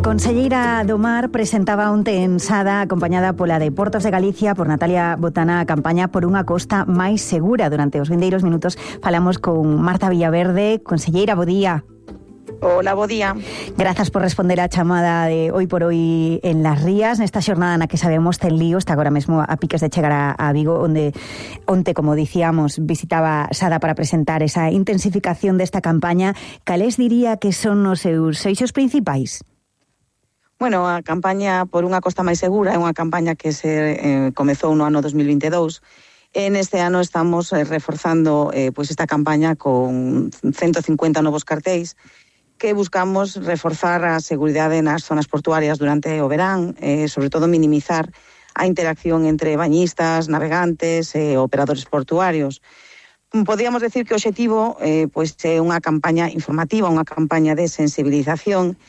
Conselleira do Mar presentaba onte en Sada, acompañada pola de Portos de Galicia, por Natalia Botana, a campaña por unha costa máis segura. Durante os vindeiros minutos falamos con Marta Villaverde. Conselleira, bo día. Hola, bo día. Grazas por responder á chamada de Hoy por Hoy en Las Rías, nesta xornada na que sabemos ten lío, está agora mesmo a piques de chegar a Vigo, onde onte, como dicíamos, visitaba Sada para presentar esa intensificación desta campaña. Cales diría que son os seus eixos principais? Bueno, a campaña por unha costa máis segura é unha campaña que se comezou no ano 2022. Neste ano estamos reforzando pois esta campaña con 150 novos cartéis que buscamos reforzar a seguridade nas zonas portuarias durante o verán, sobre todo minimizar a interacción entre bañistas, navegantes e operadores portuarios. Podríamos decir que o obxectivo pois é unha campaña informativa, unha campaña de sensibilización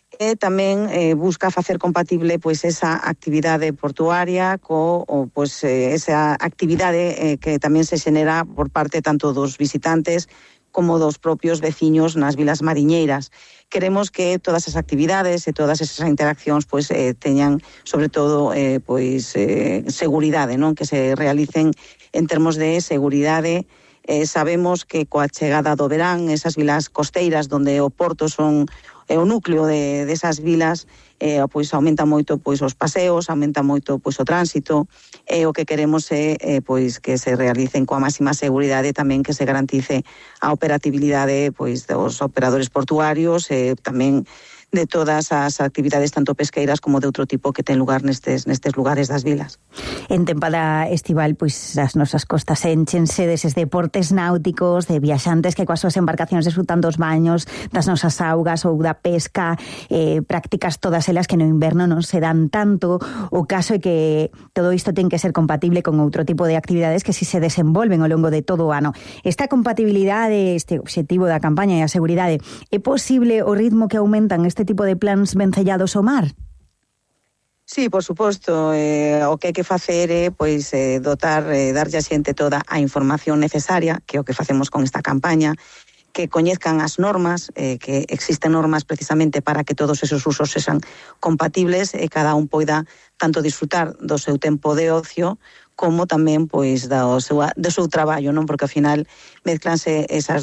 e tamén busca facer compatible pois esa actividade portuaria pois esa actividade que tamén se xenera por parte tanto dos visitantes como dos propios veciños nas vilas mariñeiras. Queremos que todas as actividades e todas esas interaccións pois teñan sobre todo pois seguridade, non? Que se realicen en termos de seguridade. Sabemos que coa chegada do verán esas vilas costeiras donde o porto son o núcleo desas vilas pois aumenta moito pois os paseos, aumenta moito pois o tránsito e o que queremos é pois que se realicen coa máxima seguridade, tamén que se garantice a operatividade pois dos operadores portuarios e tamén de todas as actividades tanto pesqueiras como de outro tipo que ten lugar nestes lugares das vilas. En tempada estival, pois as nosas costas enchense deses deportes náuticos, de viaxantes que coas súas embarcacións desfrutan dos baños, das nosas augas ou da pesca, prácticas todas elas que no inverno non se dan tanto. O caso é que todo isto ten que ser compatible con outro tipo de actividades que si se desenvolven ao longo de todo o ano. Esta compatibilidade, este obxectivo da campaña e a seguridade, é posible o ritmo que aumentan este tipo de plans vencellados ao mar? Sí, por suposto, o que hai que facer é pois darlle a xente toda a información necesaria, que é o que facemos con esta campaña, que coñezcan as normas, que existen normas precisamente para que todos esos usos sexan compatibles e cada un poida tanto disfrutar do seu tempo de ocio como tamén pois do seu traballo, non? Porque ao final mezclanse esas